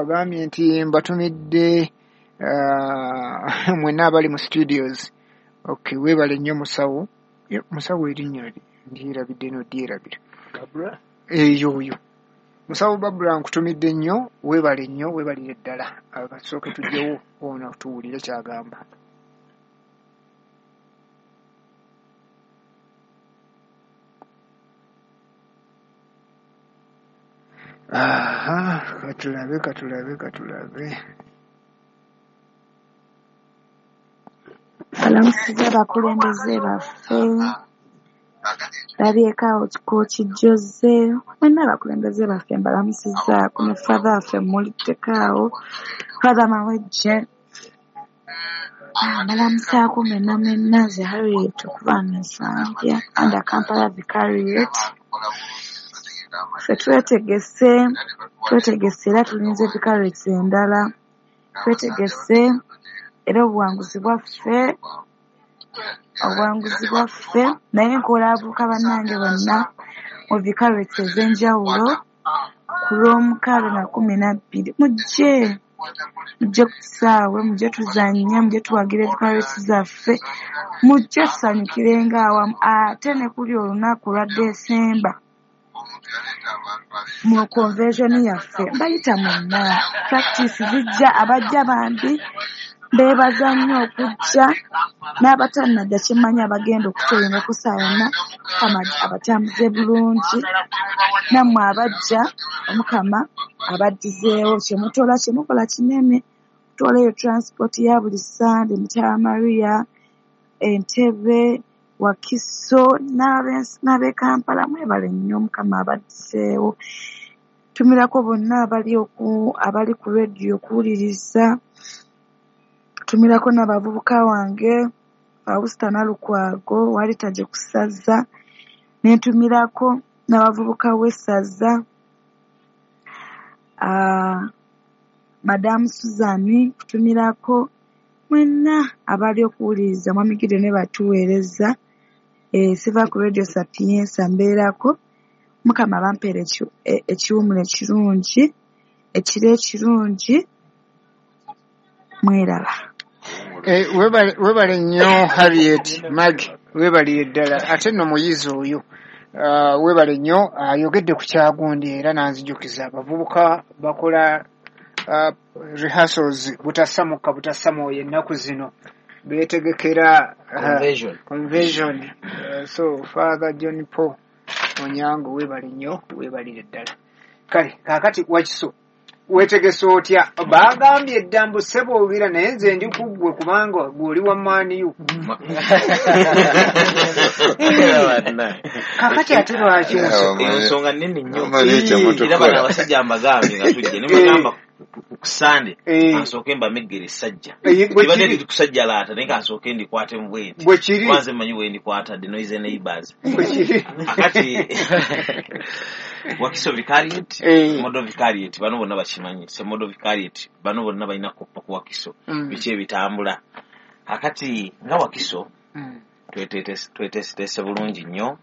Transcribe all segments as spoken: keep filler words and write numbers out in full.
Agambye nti mbatumidde uh, mwenna abali mu studios. Okay, weebale nnyo musawo. Musawo erinnya ndyerabidde no dyerabira. Babra? Eyo oyo. Musawo Babra nkutumidde nnyo, weebale nnyo, weebalire ddala. Kasooke tujjewo ono tuwulire ky'agamba. Aha, katulabe, katulabe, katulabe. Balamusiza abakulembeze baffe, labyeko awo Kooki Jose, mwenna abakulembeze baffe mbalamusizaako ne Father waffe mmuliddeko awo, Father Mawejje. Mbalamusaako mwenna mwenna, nze Harriet okuva mu Nsambya under Kampala Vicariate. Ffe twetegese, twetegese era tulinze vicariates endala, twetegese era obuwanguzi bwaffe, obuwanguzi bwaffe, naye nkola abavubuka bannange bonna mu vicariates ez'enjawulo ku lw'omukaaga na kumi na bbiri. Mujje, mujje ku kisaawe, mujje tuzannye, mujje tuwagire vicariates zaffe, mujje tusanyukirenga awamu, ate ne kuli olunaku lwa Desemba mu convention yaffe mbayita mwenna. Practice zijja, abajja bambi mbeebaza nnyo okujja, n'abatannajja kyemmanyi abagenda okutoyinga okussa yonna, Mukama abatambuze bulungi, nammwe abajja Omukama abaddizeewo. Kye mutola kye mukola kinene, kutwala eyo transport ya buli Ssande, Mukyala Maria, Entebbe, Wakiso n'ab'e Kampala, mwebale nnyo, Mukama abaddizeewo. Tumirako bonna abali oku abali ku rediyo okuwuliriza, tumirako n'abavubuka wange Fausta Nalukwago Walitaje ku ssaza, ne ntumirako n'abavubuka w'essaza uh, Madamu Suzani, kutumirako mwenna abali okuwuliriza. Mwami Gideon ne batuweereza, eh, siva ku Radio Sapienza mbeerako. Mukama bampeere ekiwumulo ekirungi, ekiro ekirungi, mweraba. Eh, webale webale nnyo Harriet Mag, webalire ddala. Ate nno muyizi oyo uh, webale nnyo, ayogedde ku kyagundi era n'anzijukiza abavubuka bakola uh, rehearsals butasamuka butasamwoyo ennaku zino beetegekera uh, Conversion. conversion. Uh, so Father John Paul Onyango weebale nnyo, weebalire ddala. Kale kaakati Wakiso weetegese otya? Baagambye edda mbu ssebo ogira, naye nze ndi ku ggwe kubanga gwe oli wa maaniyu. Kaakati ate lwaki muso? Eyo nsonga nnene nnyo. Ii. Era bano abasajja mbagambye nga tujja ne mbagamba ku Sande Eh. kansooke mbameggere essajja. Eh, bwe Tibadde kiri. ndi kusajjalaata naye kansooke ndikwatemu bwe nti. Bwe kiri. Kuba nze mmanyi bwe ndikwata, the noise neighbors. Bwe kiri. Akati Wakiso Vicariate, Eh. Model Vicariate, bano bonna bakimanyi. Se Model Vicariate, bano bonna balina kuppa ku Wakiso. Mm. Biki ebitambula. Akati nga Wakiso Mm. tweteeseteese bulungi nnyo.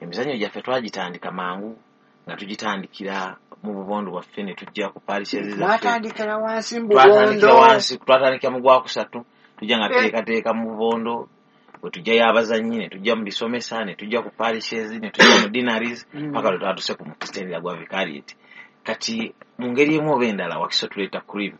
Emizannyo gyaffe twagitandika mangu nga tugitandikira mu bubondo bwaffe ne tujja ku parishes zaffe. Mwatandikira wansi mu Twatandikira bubondo. wansi, twatandikira mu gwakusatu, tujja nga Eh. tuteekateeka mu bubondo, bwe tujjayo abazannyi ne tujja mu bisomesa ne tujja ku parishes ne tujja mu deaneries Mm. paka lwe twatuse ku mutendera gwa vicariate. Kati mu ngeri emu oba endala Wakiso tuleeta cream,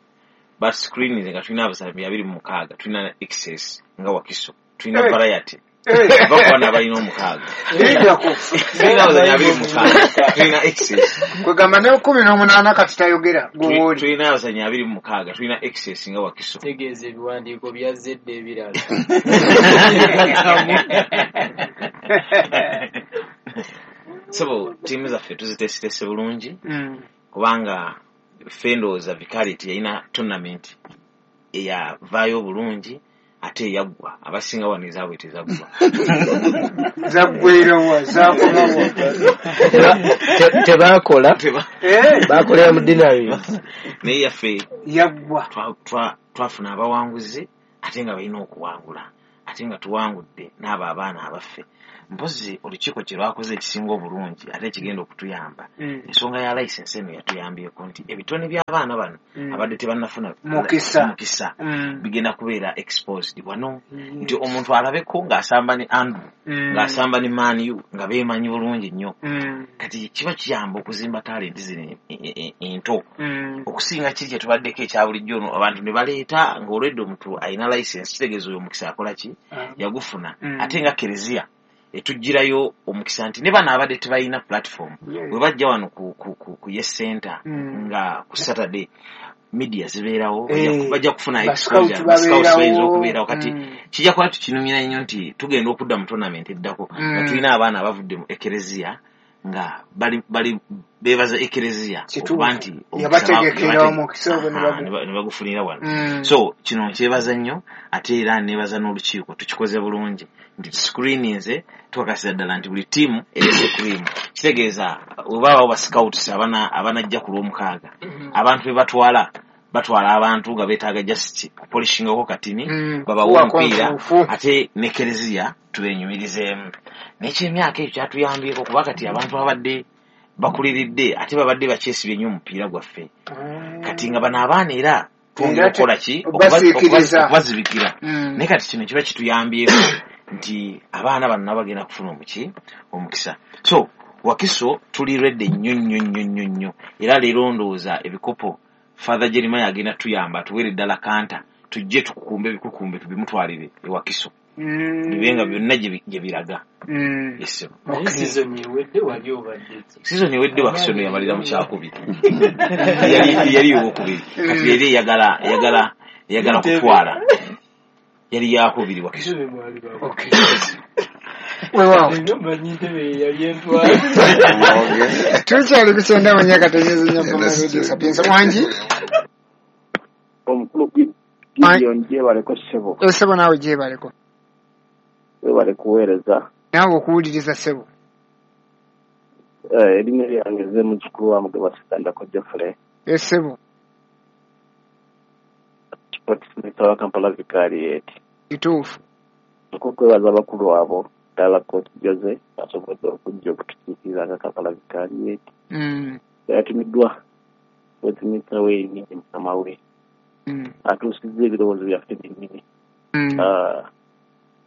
but screen nga tulina abazannyi abiri mu mukaaga, tulina excess nga Wakiso, tulina Eh. variety. Eh. Ava ku bano abalina omukaaga. Lindako. Tulina abazannyi abiri mu mukaaga, tulina excess. Kwegamba ne kumi n'omunaana kati tayogera Tuli- gwe wooli. Tulina abazannyi abiri mu mukaaga, tulina excess nga Wakiso. Tegeeza ebiwandiiko byazze dda ebirala. Sebo ttiimu zaffe tuziteeseteese bulungi Mm. kubanga ffe ndowooza vicariate yalina tournament eyavaayo obulungi ate eyaggwa, abasinga wano ezaabwe tezaggwa. Zaggwerewa, zakomawa? Te- Tebakola, Teba- Eh, bakolera mu deaneries. Naye yaffe yaggwa. twa- twa- twafuna abawanguzi ate nga balina okuwangula, ate nga tuwangudde n'abo abaana abaffe. Mpozi olukiiko kye lwakoze ekisinga obulungi ate ekigenda okutuyamba, Mm. ensonga ya license eno yatuyambyeko nti ebitone by'abaana bano Mm. abadde tebannafuna Mukisa. mukisa Mm. bigenda kubeera exposed wano, Yes. nti omuntu alabeko ng'asamba ne Andrew, Mm. ng'asamba ne Man U, nga beemanyi bulungi nnyo. Mm. Kati kiba kiyamba okuzimba talenti zino e- e- e- ento Mm. okusinga kiri kye tubaddeko ekya bulijjo ono abantu ne baleeta ng'olwedde omuntu alina license, kitegeeza oyo omukisa akola ki, Ah. yagufuna. Mm. Ate nga kereziya etugirayo omukisa nti ne bano abadde tebalina platform, Yes. bwe bajja wano ku, ku, ku, ku Yes Center Mm. nga ku Saturday media zibeerawo, Eh, bajja- bajja kufuna ba exposure, scout ba scouts babeerawo. bayinza okubeerawo. Kati Mm. kijja kuba tukinumira nnyo nti tugenda okudda mu tournament eddako nga Mm. tulina abaana abavudde mu ekereziya nga bali bali beebaza ekereziya Kituufu. okuba nti omukisa Yabategekera yabate- omukisa ogwo ne Aha, bagu- ne ba- ne bagufunira wano. Mm. So kino nkyebaza nnyo, ate era neebaza n'olukiiko, tukikoze bulungi nti tuscreeninze, tukakasiza ddala nti buli ttiimu erese cream. Kitegeeza bwe baabawo ba scouts abana abanajja ku lwomukaaga, Mm. abantu be batwala batwala abantu nga beetaaga just kupolishingako katini, Mm. babawe Kuwa omupiira konfuufu. Ate ne kereziya tubenyumirizeemu. N'ekyemyaka ekyo kyatuyambyeko kuba kati abantu babadde bakuliridde ate babadde bakyesibye nnyo omupiira gwaffe. Kati nga bano abaana era twongera Era te- okukola ki? Okubasiikiriza. Okuba- okubazibikira. Mm. Naye kati kino kiba kituyambyeko nti abaana bano nabo bagenda kufuna omuki omukisa. So Wakiso tuli redde nnyo nnyo nnyo nnyo nnyo, era leero ndowooza ebikopo Father Jeremiah agenda tuyamba atuweere ddala kanta tujje tukukumbe ebikukumbe tubimutwalire e Wakiso, Mm. bibe nga byonna gye bi- gye biraga. Mm. Yes, sir. Naye Okay. season ewedde wali obadde ki? Season ewedde Wakiso no yamalira mu kyakubiri, yali yali owokubiri. Kati yali eyagala eyagala eyagala kutwala, yali yakubiri Wakiso. Entebe mwali ba- Okay. Weewaawo. Nga mmanyi ntebe ye yali entwala. Tukyali ku kyenda mu myaka tenyezi nnyo Mpoma Radio Sapienza. Wangi? Omukulu Gideon, gyebaleko ssebo. Essebo naawe gyebaleko. Webale kuweereza. Naawe okuwuliriza ssebo. Eh, erinnya lyange nze muzzukulu wa Mugaba Ssekandako Geoffrey, Essebo. Sports Minister wa Kampala Vicariate. Kituufu. Okwebaza abakulu abo ddala Coach Jose asobodde okujja okutukiikirira nga Kampala Vicariate. Mm. Yatumiddwa Sports Minister we yennyini mukama we, Mm. atuusizza ebirowoozo byaffe byennyini. Mm. Ah,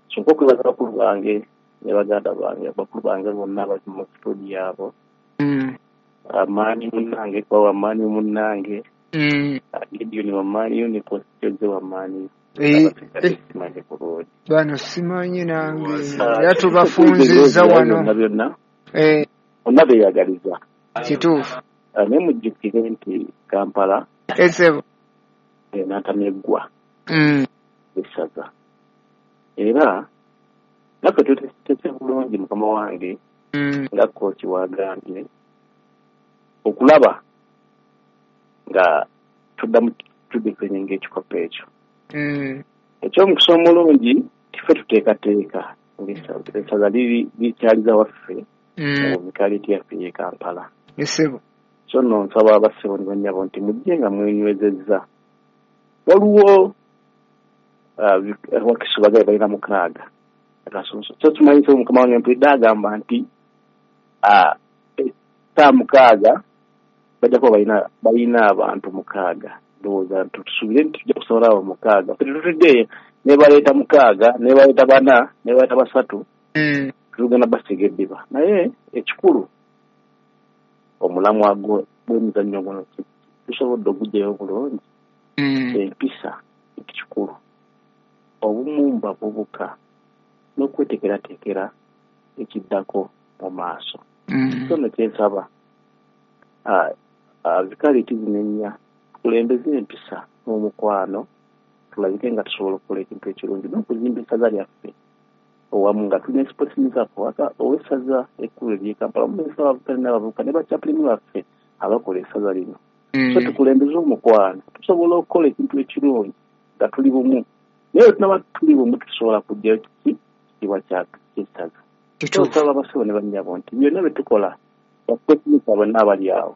so okwebaza bakulu bange ne baganda bange, bakulu bange bonna abali mu studio abo, Mm. amaanyi munnange kuba wamaanyi munnange, Mm. Gideon wamaanyi ne Coach Jose wamaanyi, Eh, abasigadde eh, simanyi bulungi. Bano simanyi nange Ah, era tubafunzizza wano. Byonna byonna Eh, bonna beeyagaliza. Kituufu. Ah, naye mujjukire nti Kampala Essebo. eh, n'atameggwa Mm. essaza, era naffe tuteese bulungi mukama wange Mm. nga kooki wagambye okulaba nga tuddamu tudefendinga ekikopo ekyo. Mm. Ekyomukisa omulungi tife tuteekateeka ng'essaza essaza liri likyaliza waffe Mm. mu vikaliti yaffe y'e Kampala. Essebo. So nno nsaba abassebo ne bannyabo nti mujje nga mwenywezezza. Waliwo ah, vi- Wakiso bagaye balina mukaaga akasunsu, so tumanyi so mukama wange mpulidde agamba nti ah, saa mukaaga bajja kuba balina balina abantu mukaaga. Ndowooza nti tusuubire nti tujja kusobola abo mukaaga. Ffe tetutudde nebaleeta mukaaga, nebaleeta bana, nebaleeta basatu, Mm. tugenda basiga eddiba. Naye ekikulu omulamwa gwo- gw'emizannyo guno ki- tusobodde ogugyayo bulungi. Mm. Empisa ekikulu, obumu mu bavubuka n'okweteekerateekera ekiddako mu maaso. Mm. So nno kyensaba ah, ah, vikaliti zino ennya tukulembeze empisa n'omukwano, tulabike nga tusobola okukola ekintu ekirungi n'okuzimba essaza lyaffe owamu nga tulina sports minister waka ow'essaza ekkulu ery'e Kampala, omuminisita w'abavubuka n'abavubuka ne bachaplain baffe abakola essaza lino. So Mm. tukulembeze omukwano, tusobola okukola ekintu ekirungi nga tuli bumu, naye tunaba tuli bumu tusobola kuggyayo kiki kitiibwa ky'essaza. Kituufu. Nsaba abasebo ne bannyabo nti byonna bye tukola bakwesinika bonna abali awo,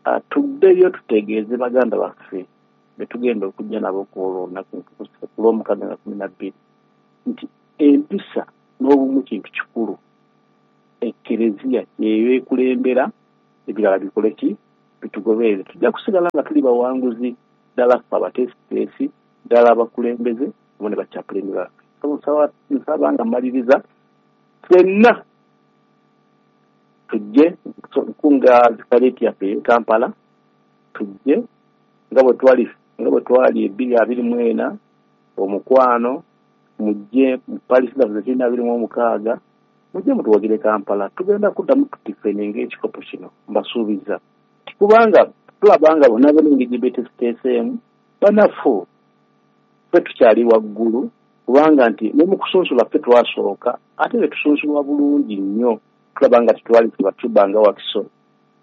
Ah, tuddeyo tutegeeze baganda baffe be tugenda okujja nabo ku olwo olunaku ku lwomukaaga nga kumi na bbiri nti empisa N'obumu kintu kikulu. Ekkereziya yeyo ekulembera, ebirala bikole ki? Bitugoberere. Tujja kusigala nga tuli bawanguzi, ddala ffe abateesiteesi, ddala abakulembeze wamu ne bachaplain baffe. So nsaba nga mmaliriza, ffenna tujje nkunga zikaleeti yaffe e Kampala, tujje nga bwe twali nga bwe twali ebbiri abiri mu ena omukwano, mujje mu Paris zaffe zetulina abiri mu omukaaga, mujje mutuwagire Kampala. Tugenda kuddamu tutifeninga ekikopo kino, mbasuubiza, kubanga tulaba nga bonna bonna engeri gye beeteeseteeseemu banafu, ffe tukyali waggulu, kubanga nti ne mu kusunsula ffe twasooka, ate ne tusunsulwa bulungi nnyo. Tulaba nga tetwali tubatuba nga Wakiso,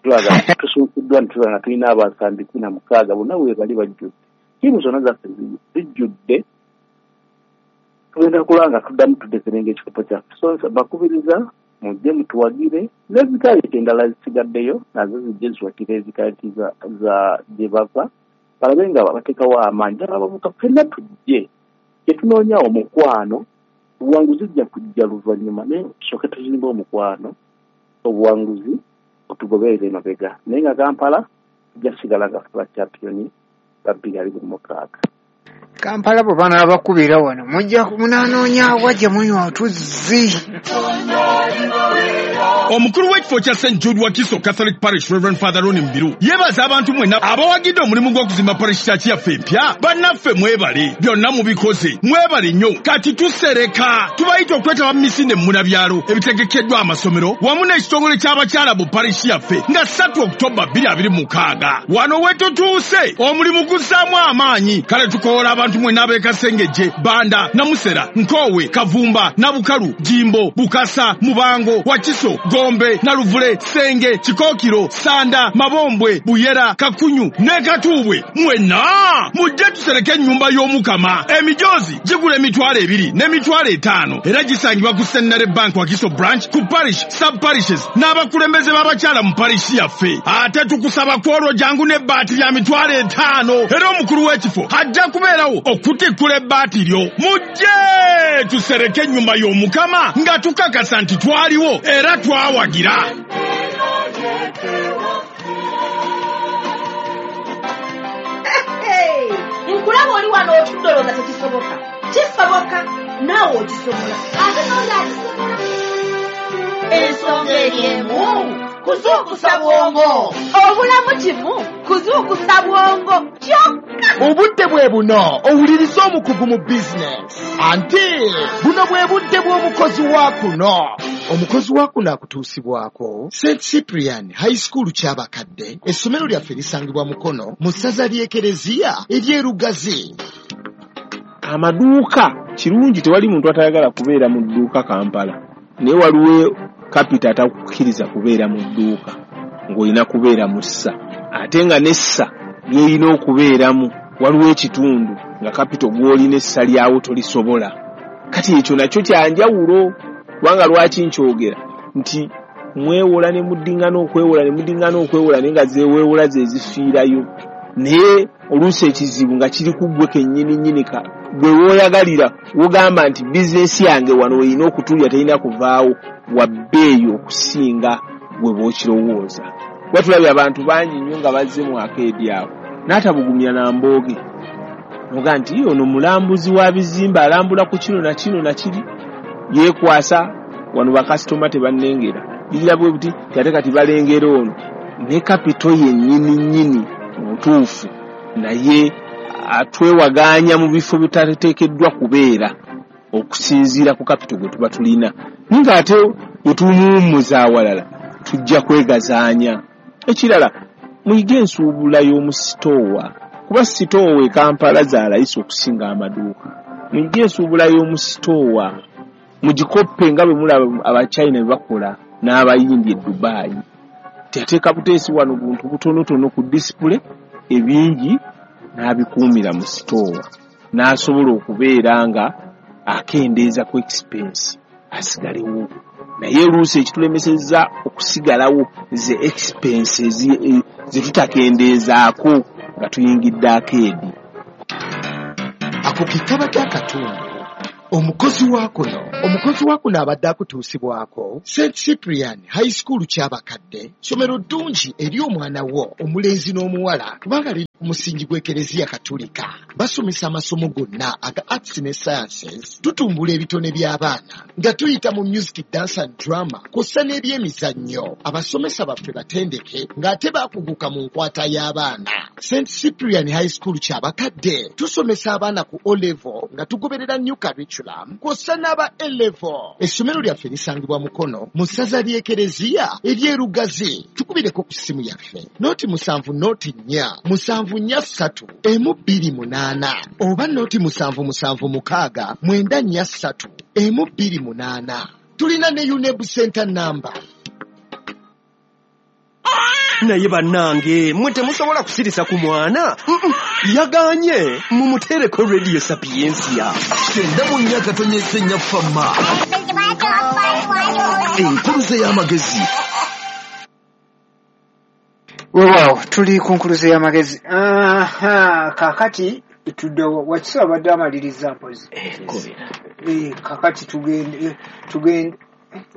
tulaba tusunsuddwa ne tulaba nga tulina abasambi kumi na mukaaga, bonna we bali bajjudde, ttiimu zonna zaffe zijjudde. Tugenda kulaba nga tuddamu tuddeferenga ekikopo kyaffe. So bakubiriza mujje mutuwagire, n'ezikaliti endala zisigaddeyo nazo zijje ziwagire ezikaliti za gye bava, balabe nga bateekawo amaanyi. Ddala abavubuka ffenna tujje, kye tunoonya omukwano. Obuwanguzi bujja kujja luvannyuma, naye tusooke tuzimbe omukwano, obuwanguzi otugoberere emabega. Naye nga Kampala tujja kusigala nga ffe bachampiyoni ba bbiri abiri mu mukaaga. Kampala bwe banaabakubira wano mujja munaanoonya awa gye munywa otuzzi. Omukulu w'ekifo kya Saint Jude Wakiso Catholic Parish, Reverend Father Ronnie Mubiru, yeebaza abantu mwenna abawagidde omulimu gw'okuzimba parish church yaffe empya. Bannaffe mwebale, byonna mubikoze, mwebale nnyo. Kati tusereka, tubayita okwetaba mu misinde munabyalo ebitegekeddwa amasomero wamu n'ekitongole ky'abakyala mu parish yaffe nga ssatu Oktoba bbiri abiri mu mukaaga. Wano we tutuuse, omulimu guzzaamu amaanyi. Kale tukoola abantu mwenna ab'e Kasengejje, Banda, Namusera, Nkoowe, Kavumba, Nabukalu, Jimbo, Bukasa, Mubango, Wakiso, Gombe, Naluvule, Senge, Kikokiro, Sanda, Mabombwe, Buyera, Kakunyu ne Katuubwe. Mwenna mujje tusereke ennyumba y'Omukama. Emijoozi gigula emitwalo ebiri n'emitwalo etaano, era gisangibwa ku Centenary Bank Wakiso branch, ku parish, sub parishes n'abakulembeze b'abakyala mu parish yaffe. Ate tukusaba kwolwo jangu n'ebbaati lya mitwalo etaano, era omukulu w'ekifo ajja kubeerawo okutikkula ebbaati lyo. Mujje tusereke ennyumba y'Omukama nga tukakasa nti twaliwo era twawagira. Nkulaba oli wano otudde olowooza tekisoboka. Kisoboka, naawe okisobola, ate n'oli akisobola. Ensonga eri emu, kuzuukusa bwongo. Obulamu kimu, kuzuukusa bwongo kyokka. Obudde bwe buno owuliriza omukugu mu bizinesi, anti buno bwe budde bw'omukozi wa kuno. Omukozi wa kuno akutuusibwako Saint Cyprian High School Kyabakadde. Essomero lyaffe lisangibwa Mukono mu ssaza ly'Ekereziya ery'e Lugazi. Amaduuka kirungi, tewali muntu atayagala kubeera mu dduuka Kampala, naye waliwo kapita atakukkiriza kubeera mu dduuka, ng'olina kubeera mu ssa, ate nga n'essa ly'olina okubeeramu waliwo ekitundu nga kapito gw'olina essa lyawo tolisobola. Kati ekyo nakyo kyanjawulo, kubanga lwaki nkyogera nti mwewola ne muddingana okwewola ne muddingana okwewola, naye nga zeweewola ze zifiirayo, naye oluusi ekizibu nga kiri ku ggwe kennyini nnyini ka gwe wooyagalira, wogamba nti bizinesi yange wano erina okutulya, terina kuvaawo, wa bbeeyi okusinga gwe bw'okirowooza. Kuba tulabye abantu bangi nnyo nga bazze mu akeedi awo n'atabugumya na mbooge, noga nti ono mulambuzi wa bizimbe, alambula ku kino na kino na kiri, yeekwasa wano bakasitoma tebannengera bigira bwe buti, ate kati balengera ono ne kapito yennyini nnyini mutuufu, naye atwewagaanya mu bifo bitateekeddwa kubeera okusinziira ku kapito gwe tuba tulina, naye ng'ate bwe tumuwummuza awalala tujja kwegazaanya. Ekirala, muyige ensuubula y'omu sitoowa, kuba sitoowa e Kampala za layisi okusinga amaduuka. Muyige ensuubula y'omu sitoowa, mugikoppe nga bwe mulaba Abachina bwe bakola n'Abayindi e Dubai. Teyateeka buteesi wano buntu butonotono ku display, ebingi n'abikuumira mu sitoowa, n'asobola okubeera nga akendeeza ku expense asigalewo. Naye oluusi ekitulemesezza okusigalawo ze expenses ze tutakendeezaako nga tuyingidde akeedi. Ako ke kabadde akatundu Omukozi wa kuno omukozi wa kuno abadde akutuusibwako Saint Cyprian High School Kyabakadde, ssomero ddungi eri omwana wo omulenzi n'omuwala kubanga liri ku musingi gw'Ekereziya Katolika. Basomesa amasomo gonna aga arts ne sciences. Tutumbula ebitone by'abaana nga tuyita mu music, dance and drama kw'ossa n'ebyemizannyo. Abasomesa baffe batendeke ng'ate baakuguka mu nkwata y'abaana. Saint Cyprian High School Kyabakadde tusomesa abaana ku O level nga tugoberera new curriculum kw'ossa n'aba A level. Essomero lyaffe lisangibwa Mukono mu ssaza ly'Ekereziya ery'e Lugazi. Tukubireko ku ssimu yaffe noti musanvu noti nnya musanvu nnya ssatu emu bbiri munaana oba noti musanvu musanvu mukaaga mwenda nnya ssatu emu bbiri munaana. Tulina ne UNEB center number. Naye bannange, mwe temusobola kusirisa ku mwana. Mm-mm. Yaganye mumuteereko Radio Sapiensia. Kyenda mu nnya katonyeze nnya fama enkuluze y'amagezi. Weewaawo, tuli ku nkuluze y'amagezi. Aha, kaakati tudde Wakiso abadde amaliriza mpozi. Eh, kakati tugende tugende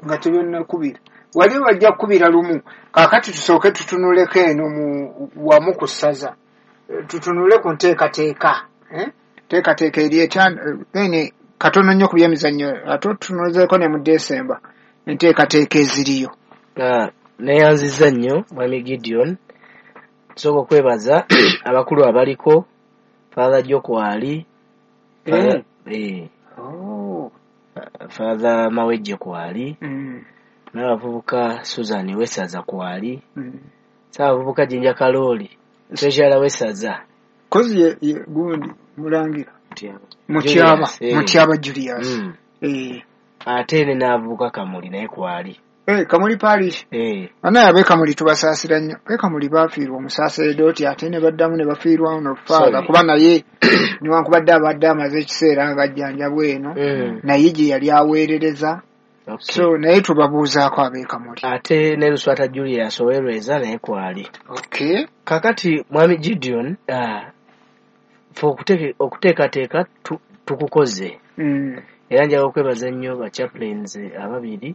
nga tebyonnakubira wali bajja kukubira lumu. Kaakati tusooke tutunuleko eno mu wamu ku ssaza. Eh, tutunule ku nteekateeka, eh? Nteekateeka eri etya, then katono nnyo ku byemizannyo, ate tutunuzeeko ne mu Desemba enteekateeka eziriyo. Ah, neyanziza nnyo Mwami Gideon. Tusooka okwebaza abakulu abaliko, Father Jokwali, Eh. eh, Oh. Father Mawejje kwali, Mm. n'abavubuka Susan Wesaza kwali, Mm. saabavubuka Jinja Kalooli, treasurer Wesaza. Kozi ye, ye gundi mulangira Mutyaba. Julius, eh. Mutyaba Julius. Mm. Eh. Ate ne n'abavubuka Kamuli naye kwali. Eh, Kamuli Parish. Eh. Banaye ab'e Kamuli tubasaasira nnyo. Ab'e Kamuli baafiirwa omusaseredooti ate ne baddamu ne bafiirwa ono Father, Sorry. kuba naye newankubadde abadde amaze ekiseera ng'ajjanjabwa eno, Mm. naye gye yali aweerereza. Okay. So naye tubabuuzaako ab'e Kamuli. Ate ne Luswata Julius Owereza naye kwali. Okay. Kakati Mwami Gideon, ah, fe okuteke- okuteekateeka tu- tukukoze. Mm. Era njagala okwebaza nnyo ba chaplains ababiri,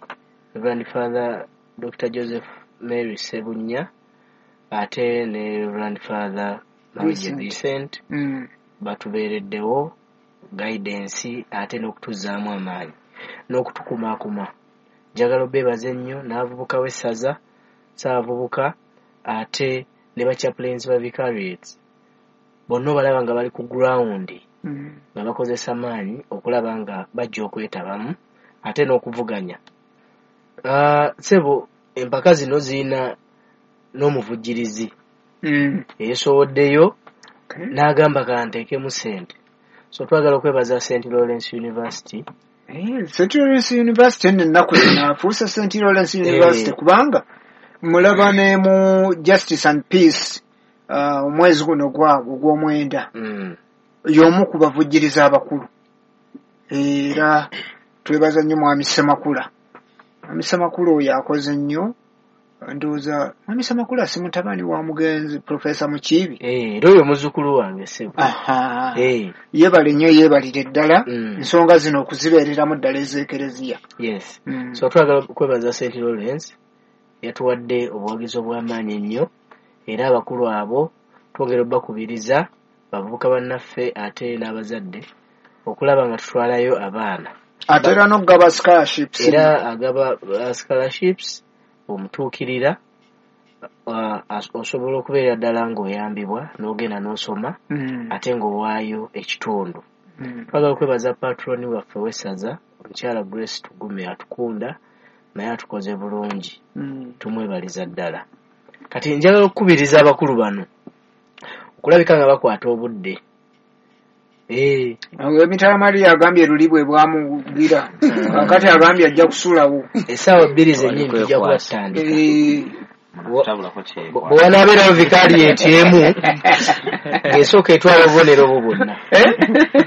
Reverend Father Doctor Joseph Mary Ssebunya ate ne Reverend Father Mawejje Vincent. Vincent. Mm. Batubeereddewo guidance ate n'okutuzzaamu amaanyi n'okutukumaakuma. Njagala obeebaza ennyo n'abavubuka w'essaza, saabavubuka ate ne ba chaplains ba vicariates bonna obalaba nga bali ku ground, Mm. nga bakozesa maanyi okulaba nga bajja okwetabamu ate n'okuvuganya. Ah, ssebo, empaka zino zirina n'omuvujjirizi Mm. eyeesowoddeyo Okay. n'agamba kanteekemu ssente. So twagala okwebaza Saint Lawrence University. Eh, Saint Lawrence University nno ennaku zino afuuse Saint Lawrence University, Eh. kubanga mulaba ne mu Justice and Peace, uh, omwezi guno gwabwe ogw'omwenda, Mm. y'omu ku bavujjiriza abakulu. Era twebaza nnyo Mwami Ssemakula. Mwami Ssemakula oyo akoze nnyo. Ndowooza Mwami Ssemakula si mutabani wa mugenzi Profesa Mukiibi? Eh, era oyo muzzukulu wange, ssebo. Aha. Eh, yeebale nnyo, yeebalire ddala Mm. ensonga zino okuzibeereramu ddala ez'Ekereziya. Yes. Mm. So twagala okwebaza Saint Lawrence, yatuwadde obuwagizi obw'amaanyi ennyo, era abakulu abo twongera obbakubiriza bavubuka bannaffe ate n'abazadde okulaba nga tutwalayo abaana. Ate era n'okugaba scholarships. Era agaba uh, scholarships. Omutuukirira, uh, as- osobola okubeera ddala ng'oyambibwa n'ogenda n'osoma, Mm. ate ng'owaayo ekitundu. Mm. Twagala okwebaza patroni waffe w'essaza, omukyala Grace Tugume atukunda, naye atukoze bulungi. Mm. Tumwebaliza ddala. Kati njagala okukubiriza abakulu bano okulabika nga bakwata obudde. Eh, Emitala Maria agambye luli bwe bwamugira, kakati agambye ajja kusulawo. Essaawa bbiri zennyini tujja kuba tutandika. Eh, Tabulako kyekwasa. Bwe wanaabeerawo vicariate emu ng'esooka etwala obubonero obwo bwonna.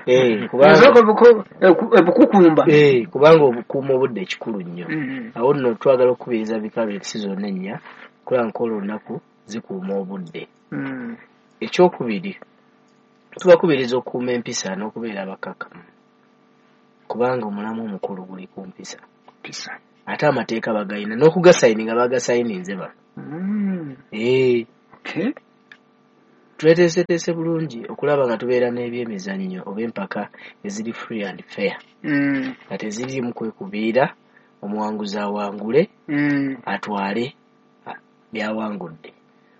Eh, kubanga Esooka obuku- eku- ebukukumba. Eh, kubanga obukuuma obudde kikulu nnyo. Mm. Awo nno twagala okukubiriza vicariates zonna ennya okulaba nkola olunaku zikuuma obudde. Mm. Ekyokubiri, tubakubiriza okukuuma empisa n'okubeera abakakkamu. Kubanga omulamu omukulu guli ku mpisa. Mpisa. Ate amateeka bagayina n'okugasayininga bagasayininze bano. Mm. Eh. Okay. Tweteeseteese bulungi okulaba nga tubeera n'ebyemizannyo oba empaka eziri free and fair. Mm. Nga teziriimu kwekubiira, omuwanguzi awangule, Mm. atwale byawangudde.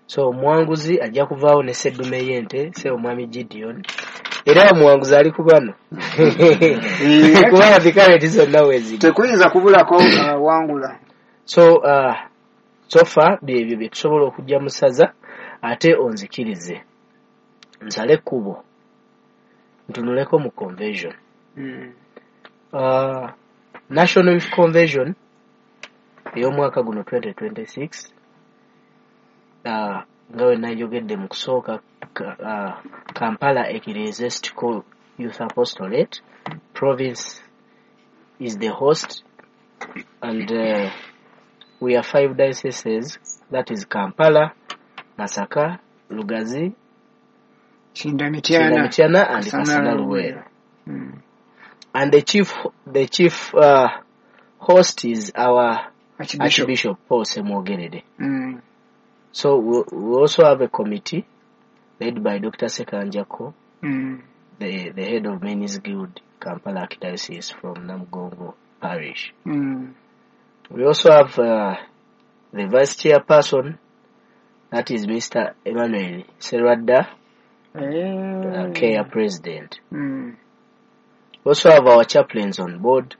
So omuwanguzi ajja kuvaawo ne sseddume y'ente, se omwami Gideon. Era omuwanguzi ali ku bano. Kubanga vikareti zonna weeziri. Tekuyinza kubulako awangula. So uh, so far byebyo bye tusobola okujja mu ssaza, ate onzikirize nsale ekkubo ntunuleko mu convention. Mm. Uh, National Youth Convention ey'omwaka guno twenty twenty-six, uh, nga we najogedde mu kusooka, uh, Kampala Ecclesiastical Youth Apostolate Province is the host, and uh, we are five dioceses, that is Kampala, Masaka, Lugazi, Kindamitiana, Kindamitiana and Kasana Luweero. Mm. And the chief, the chief uh, host is our Archbishop, Archbishop Paul Ssemwogerere. Mm. So we, we also have a committee led by Doctor Sekanjako, mm. the, the head of Men's Guild, Kampala Archdiocese from Namugongo Parish. Mm. We also have uh, the vice chairperson, that is Mister Emmanuel Serwadda, hey. uh, K A president. Mm. We also have our chaplains on board,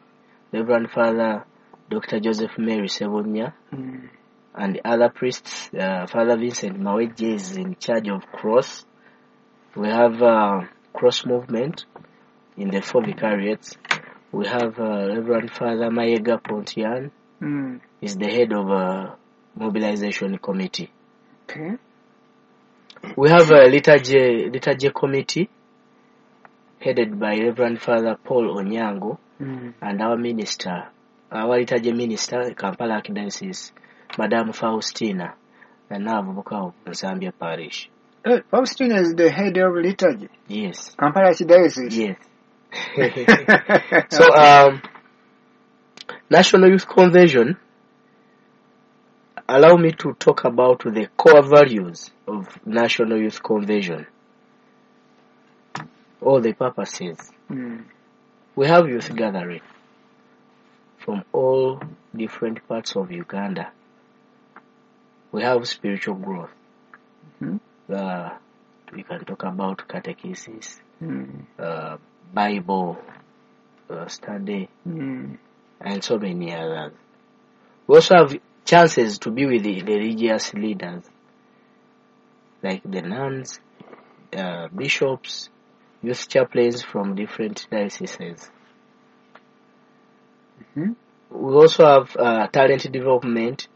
Reverend Father Doctor Joseph Mary Sebonya, mm. and other priests. Uh, Father Vincent Maweje is in charge of cross. We have uh, cross movement in the four vicariates. We have uh, Reverend Father Mayega Pontian, mm. is the head of a mobilization committee. Okay. We have a liturgy, liturgy committee headed by Reverend Father Paul Onyango, mm. and our minister, our liturgy minister, Kampala Archdiocese, Madam Faustina, and now Avubuka of Nsambya Parish. Hey, Faustina is the head of liturgy? Yes. Kampala Archdiocese? Yes. So, um, National Youth Convention, allow me to talk about the core values of National Youth Convention, all the purposes. Mm. We have youth gathering from all different parts of Uganda. We have spiritual growth. Mm-hmm. Uh, we can talk about catechesis, mm. uh, Bible uh, study, mm. and so many others. We also have chances to be with the religious leaders, like the nuns, uh, bishops, youth chaplains from different dioceses. Mm-hmm. We also have uh, talent development,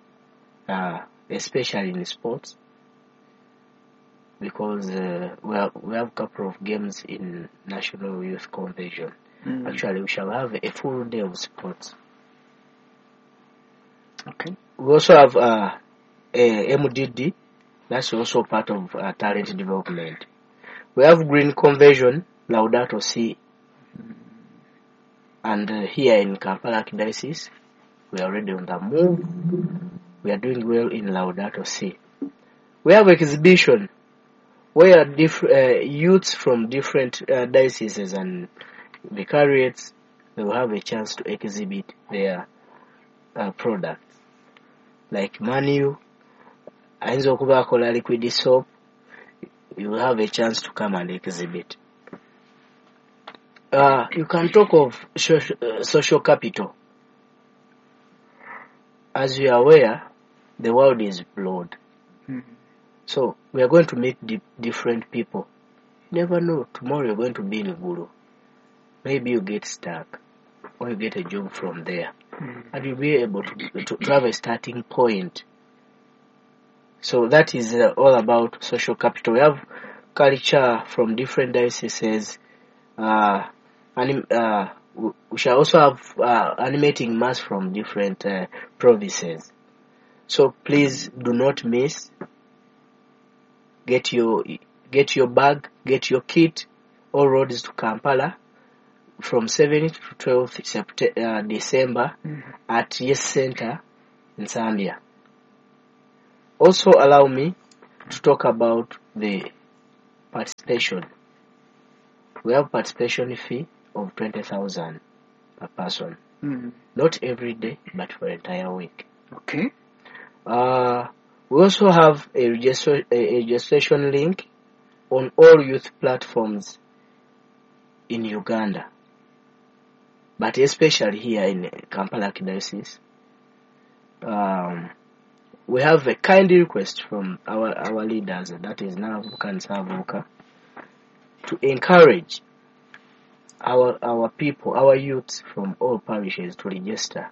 uh, especially in sports, because uh, we have, we have a couple of games in National Youth Convention. Mm. Actually, we shall have a full day of sports. Okay. We also have uh, a M D D, that's also part of uh, talent development. We have Green Conversion, Laudato Si, and uh, here in Kampala Archdiocese, we are already on the move. We are doing well in Laudato Si. We have exhibition where diff- uh, youths from different uh, dioceses and vicariates, they will have a chance to exhibit their uh, products. Like Manu, ayinza okuba akola liquid soap, you will have a chance to come and exhibit. Uh, you can talk of social, uh, social capital. As you are aware, the world is broad. Mm-hmm. So we are going to meet di- different people. You never know, tomorrow you're going to be in Gulu. Maybe you get stuck or you get a job from there. Mm-hmm. And you'll be able to, to, to have a starting point. So that is uh, all about social capital. We have culture from different dioceses. Uh, anim- uh, we shall also have uh, animating mass from different uh, provinces. So please do not miss. Get your, get your bag, get your kit, all roads to Kampala. from seventh to twelfth Septe- uh, December at Yes Center in Zambia. Also allow me to talk about the participation. We have participation fee of twenty thousand per person. Mm. Not every day, but for entire week. Okay. Uh, we also have a, registra- a registration link on all youth platforms in Uganda, but especially here in Kampala Archdiocese. Um, we have a kind request from our, our leaders, that is Naabavubuka and Ssaabavubuka, to encourage our, our people, our youths from all parishes to register.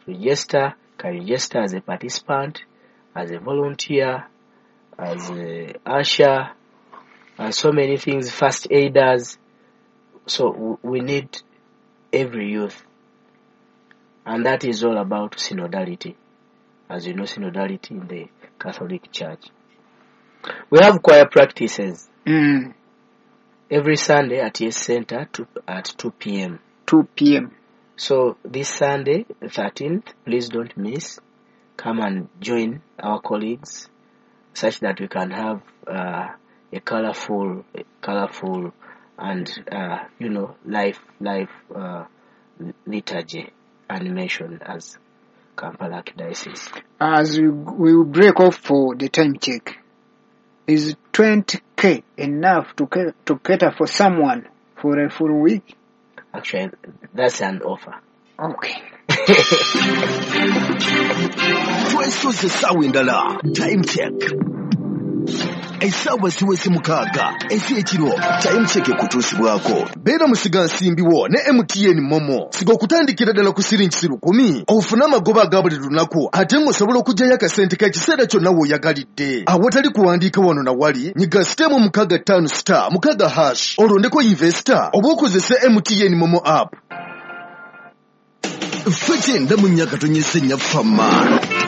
Register, can register as a participant, as a volunteer, as a usher, and so many things, first aiders. So w- we need every youth. And that is all about synodality. As you know, synodality in the Catholic Church. We have choir practices Mm. every Sunday at Yes Center to, at two p.m. two p.m. So this Sunday, the thirteenth, please don't miss. Come and join our colleagues such that we can have uh, a colorful, colorful and, uh, you know, life, life uh, liturgy animation as Kampala Archdiocese. As we, we will break off for the time check, is twenty K enough to, ca- to cater for someone for a full week? Actually, that's an offer. Okay. Twesoze essaawa endala. Time check. Essaawa ziweze mukaaga ez'ekiro. Time check ekutuusibwako. Beera musigansimbi wo ne M T N Momo. Siga okutandikira ddala ku siringi lukumi ofune amagoba aga buli lunaku ate ng'osobola okuggyayo akasente k'ekiseera kyonna w'oyagalidde. Awatali kuwandiika wano na wali, nyiga sitemu mukaaga ttaano star mukaaga hash olondeko investor oba okozese M T N Momo app. Ffe kyenda mu nnya katonyeze nnya fama.